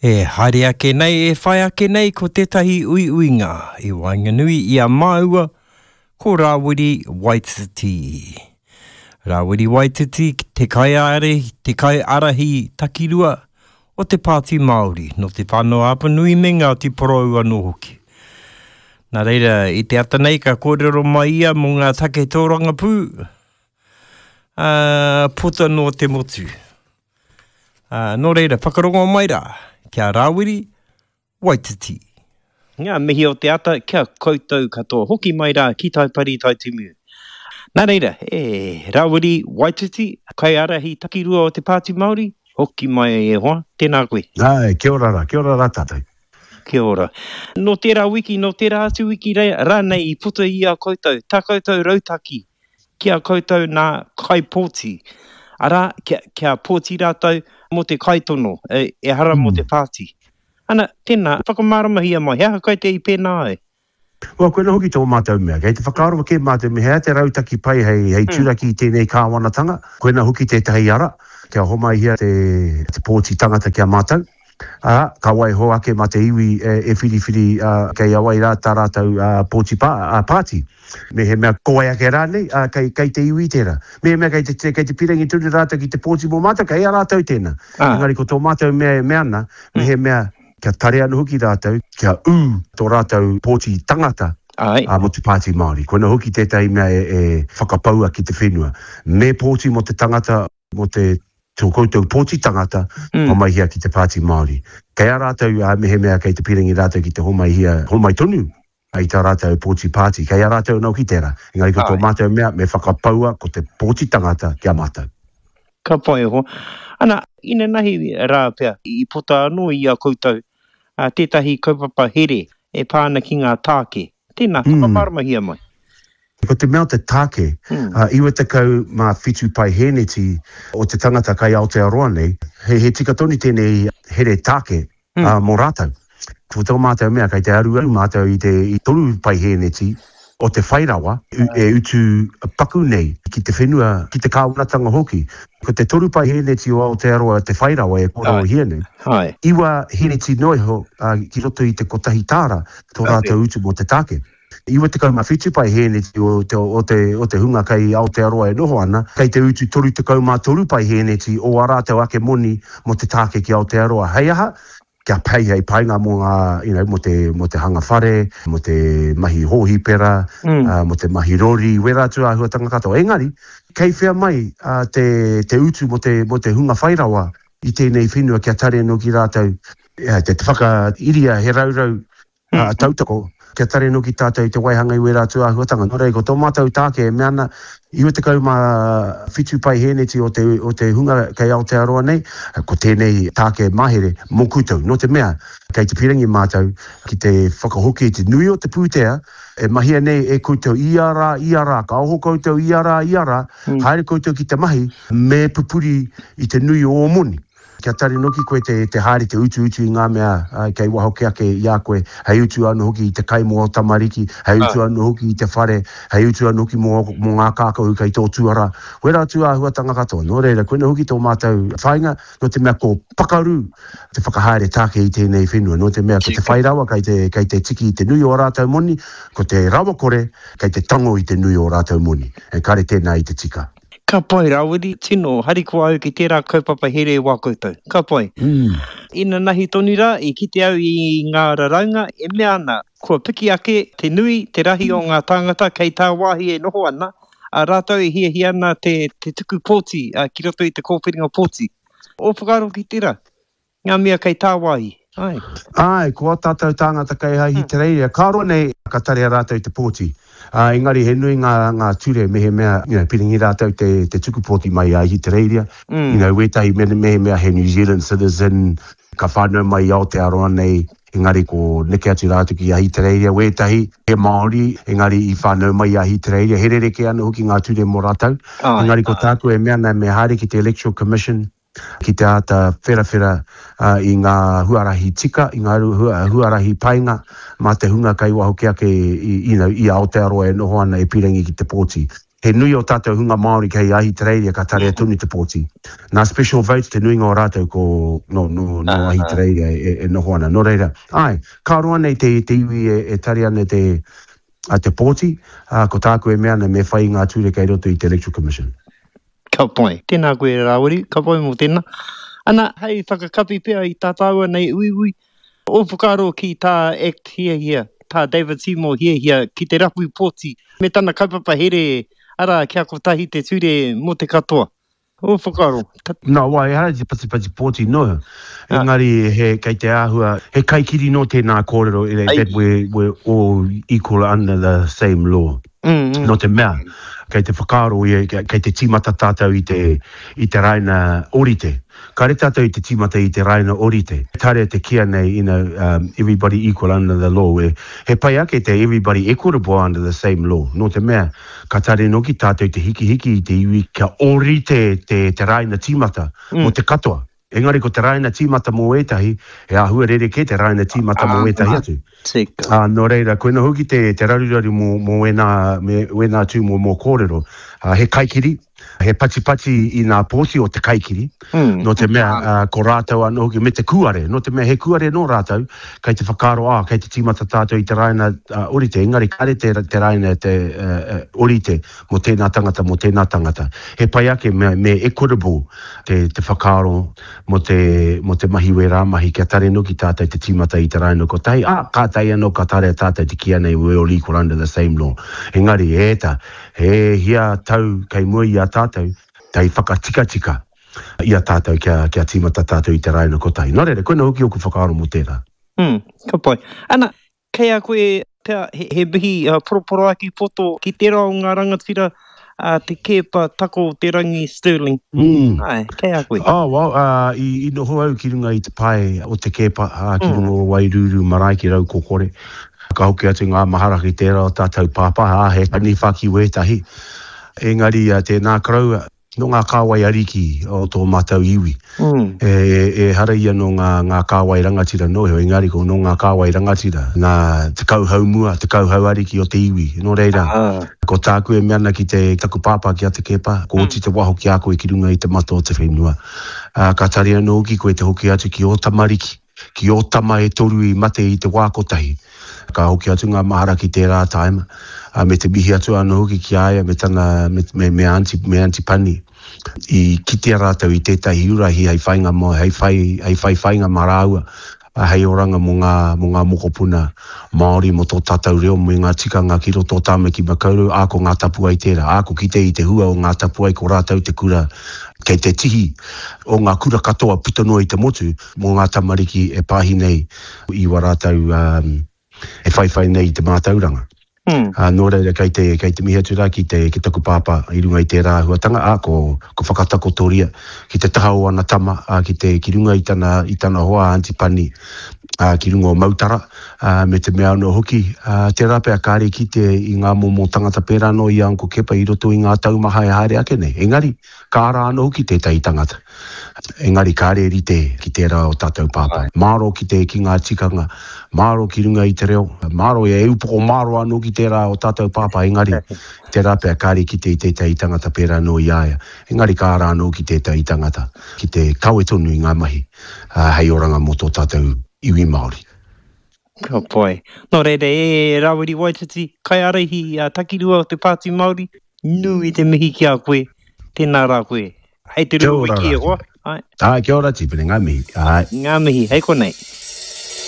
E haere ake nei, e whai ake nei ko tētahi uiuinga i waenganui i a māua ko Rāwiri Waititi. Rāwiri Waititi te kaiārahi, te kaiārahi takirua o te Pāti Māori, nō Te Whānau-a-Apanui me Ngāti Porou anō hoki. Nā reira, i te ata nei ka kōrero mai ia mō ngā take tōrangapū, ā, puta noa te motu. Ā, nō reira, whakarongo mai rā, ki a Rāwiri Waititi. Ngā mihi o te ata ki a koutou katoa. Hoki mai rā ki Taipari Taitimu. Nā reira, e Rāwiri Waititi, kaiārahi takirua o te Pāti Māori, hoki mai e hoa, tēnā koe. Āe, kia ora rā, kia ora rā tātou. Kia ora. Nō tērā wiki, nō tērā atu wiki rānei i puta i a koutou, tā koutou rautaki ki a koutou nā kaipōti, arā, kia, kia pōti rātou mō te kaitono, ehara mō te pāti. Ana, tēnā, whakamāramahia mai, he aha koe te i pēnā ai? Well, koinā hoki tō mātou mea. Kei te whakaaro kē mātou me he aha te rautaki pai hei, hei turaki i tēnei kāwanatanga. Koinā hoki tētahi ara, kia homaihia te, te pōti tangata ki a mātou, ā, ka waiho ake mā te iwi e, e whiriwhiri, ā, kei a wai rā tā rātou, ā, pōti pā, ā, pāti. Mehemea ko wai ake rānei, ā, kei, kei te iwi tērā. Mehemea kei te, kei te pīrangi tonu rātou ki te pōti mō mātou, kei a rātou tēnā. Engari ko tō mātou mea e mea ana, mehemea kia tare anō hoki rātou, kia ū tō rātou pōti tangata, ā, mō te Pāti Māori. Koinā hoki tētahi mea e, e whakapaua ki te whenua. Me pōti mō te tangata, mō te, tō koutou pōti tangata, homaihia ki te Pāti Māori. Kei a rātou, ā, mehemea kei te pīrangi rātou ki te homaihia, homai tonu i tā rātou pōti pāti. Kei a rātou anō ki tērā. Engari ko tō mātou mea, me whakapaua ko te pōti tangata ki a mātou. Ka pai e hoa. Ana, inanahi rā pea, i puta anō i a koutou tētahi kaupapa here e pā ana ki ngā tāke. Tēnā, whakamāramahia mai. Ko te mea o te tāke, 97 paihēneti o te tangata kai Aotearoa nei, he tika tonu tēnei here tāke mō rātou. Ko tō mātou mea, kei te aruaru mātou i te i 3 paihēneti o te whai rawa e utu paku nei ki te whenua, ki te kāwanatanga hoki. Ko te 3 paihēneti o Aotearoa te whai rawa e kōrerohia nei, 9 hēneti noa iho ki roto i te kotahi tāra tō rātou utu mō te tāke. 97 paihēneti o te, o te, o te hunga kei Aotearoa e noho ana, kei te utu 33 paihēneti o ā rātou ake moni mō te tāke ki Aotearoa. Hei aha? Kia pei hei painga mō ngā, you know, mō te, mō te hanga whare, mō te mahi hōhipera, mō te mahi rori, wērā atu āhuatanga katoa. Engari, kei whea mai te, te utu mō te, mō te hunga whai rawa i tēnei whenua kia tare anō ki rātou, te whakairia he raurau tautoko, kia tare noki tātou i te waihanga i wērā atu āhuatanga. Nō reira, ko tō mātou tāke e mea ana, 97 paihēneti o te, o te hunga kei Aotearoa nei, ko tēnei tāke mahere mō koutou. Nō te mea, kei te pīrangi mātou ki te whakahoki i te nui o te pūtea e mahia nei e koutou ia rā, ia rā, ka oho koutou ia rā, ia rā, haere koutou ki te mahi, me pupuri i te nui o ō moni. Kia tari noki koe te te haere te utuutu i ngā mea kei waho ke ake i a koe, hei utu anō hoki i te kai mō ō tamariki, hei utu anō hoki i te whare, hei utu anō hoki mō mō ngā kākahu kei tō tuarā. Wērā atu āhuatanga katoa. Nō reira, koinā hoki tō mātou whāinga, nō te mea ko pakaru te whakahaere tāke i tēnei whenua, nō te mea ko te whai rawa kei te kei te tiki i te nui o ā rātou moni, ko te rawakore kei te tango i te nui o ā rātou moni. Ekare tēnā i te tika. Ka pai Rawiri, tino harikoa au ki tērā kaupapa here wā koutou. Ka pai. Inanahi tonu rā, i kite au i ngā raraunga e mea ana, kua piki ake te nui, te rahi o ngā tāngata kei tāwāhi e noho ana, ā, rātou e hiahia ana te tuku pōti ki roto i te kōwhiringa pōti. Ō whakaaro ki tērā? Ngā mea kei tāwāhi, āe. Āe, ko ā tātou tāngata kei Ahitereiria, ka roa nei ka tarea rātou te pōti. Ā, engari he nui ngā, ngā ture mehemea, you know, piringi rātou te, te tuku pōti mai i Ahitereiria. You know, wētahi me, mehemea he New Zealand citizen, ka whānau mai i Aotearoa nei, engari ko neke atu rātou ki Ahitereiria. Wētahi, he Māori, engari i whānau mai i Ahitereiria. He rerekē anō hoki ngā ture mō rātou. Engari ko tāku e mea ana me haere ki te Electoral Commission, ki te āta wherawhera i ngā huarahi tika, i ngā huarahi painga mā te hunga kei waho kē ake i, you know, i Aotearoa e noho ana e pīrangi ki te pōti. He nui o tātou hunga Māori kei Ahitereiria ka tarea tonu te pōti. Nā special votes te nuinga o rātou ko nō, nō, nō Ahitereiria e, e noho ana. Nō reira, āe, ka roa nei te, te iwi e, e tare ana te, a te pōti, ā, ko tāku e mea ana me whai i ngā ture kei roto i te Electoral Commission. Ka pai. Tēnā koe Rāwiri, ka pai mō tēnā. Ana, hei whakakapi pea i tā tāua nei uiui, Ō whakaaro ki tā act hiahia, tā David Seymour hiahia ki te rapu pōti me tana kaupapa here, arā, kia kotahi te ture mō te katoa. Ō whakaaro. Nā wai, ehara i te patipati pōti noa, engari he, kei te āhua, he kaikiri nō tēnā kōrero, that we're, we're all equal under the same law. Nō te mea, kei te whakaaro ia, kei te tīmata tātou i te, i te raina ōrite. Kāre tātou i te tīmata i te raina orite. Kāre te kīa nei, you know, um, everybody equal under the law. E, he pai ake te everybody equitable under the same law. Nō te mea, ka tare noki tātou te hikihiki i te iwi kia ōrite te, te raina tīmata mm. mō te katoa. Engari ko te raina tīmata mō ētahi, he āhua rerekē te raina tīmata mō ētahi atu. Tika. Ā, nō reira, koina hoki te, te raruraru mō, mō ēnā, me, wēnā tū mō, mō kōrero. Ā, he kaikiri, he patipati i ngā pōti o te kaikiri, nō te mea, ā, ko rātou anō hoki, me te kūare, nō te mea he kūare nō rātou, kei te whakaaro, ā, kei te tīmata tātou i te raina orite, engari kāre te, te raina te, ā, orite mō tēnā tangata, mō tēnā tangata. He pai ake me, me equitable te, te whakaaro mō te, mō te mahi wērā mahi kia tare noki tātou te tīmata i te raina kotahi, ā, kātahi anō ka tarea tātou te kīia nei we all equal under the same law. Engari, e ta, he hia tau kei mua i a tātou hei whakatikatika i a tātou kia, kia tīmata tātou i te raina kotahi. Nō reira, koina hoki ōku whakaaro mō tērā. Mm, ka pai. Ana, Kei a koe pea he mihi poroporoaki poto ki tērā o ngā rangatira a Te Keepa Tako o Te Rangi Stirling. Āe, kei a koe. Oh, well, i noho au ki runga i te pae o Te Keepa, ki runga o Wairūrū marae ki Raukokore. Ka hoki atu ngā mahara ki tērā o tātou pāpā, ā, he taniwha ki wētahi. Engari, tēnā koroua. Nō ngā kāwai ariki o tō mātou iwi. Ehara ia nō ngā, ngā kāwai rangatira noa iho, engari ko nō ngā kāwai rangatira, nā te kauhau mua, te kauhau ariki o te iwi. Nō reira, ko tāku e mea ana ki te, taku pāpā ki a Te Keepa, ko oti te waho ki a koe ki runga i te mata o te whenua. Ā, ka tari anō hoki koe te hoki atu ki ō tamariki, ki ō tama e toru i mate i te wā kotahi. Ka hoki atu ngā mahara ki tērā tāima, ā, me te mihi atu anō hoki ki a ia me tana, me, me, me Aunty, me Aunty Pani. I kitea rātou i tētahi urahi hei whainga mō, hei whai, hei whai whainga mā rāua, ā, hei oranga mō ngā, mō ngā mokopuna Māori, mō tō tātou reo, me ngā tikanga ki roto o Tāmaki Makaurau, ā, ko Ngā Tapuwae tērā. Ā, ko kite i te hua o Ngā Tapuwae, ko rātou te kura kei te tihi o ngā kura katoa puta noa i te motu, mō ngā tamariki e pāhi nei i wā rātou e whaiwhai nei i te mātauranga. Ā, nō reira, kei te, kei te mihi atu rā ki te, ki taku pāpā i runga i tērā āhuatanga, ā, ko, ko whakatakotoria ki te taha o ana tama, ā, ki te, ki runga i tana, i tana hoa a Aunty Pani, ā, ki runga o Mautara, ā, me te mea anō hoki, ā, tērā pea kāre i kite i ngā momo tangata pērā anō i a Uncle Kepa i roto i ngā tau maha e haere ake nei. Engari, ka ara anō hoki tētahi tangata. Engari kāre e rite ki tērā o tātou pāpā. Māro ki te, ki ngā tikanga, māro ki runga i te reo, māro e upoko māro anō ki tērā o tātou pāpā, engari tērā pea kāre i kite i tētahi tangata pērā anō i a ia. Engari ka ara anō ki tētahi tangata ki te kawe tonu i ngā mahi hei oranga mō tō tātou iwi Māori. Ka pai. Nō reira, e Rawiri Waititi, kaiārahi a Takirua o te Pāti Māori, nui te mihi ki a koe. Tēnā rā koe. Hei te rua wiki e hoa. Āe. Āe, kia ora Tipene, ngā mihi. Āe. Ngā mihi, hei konei.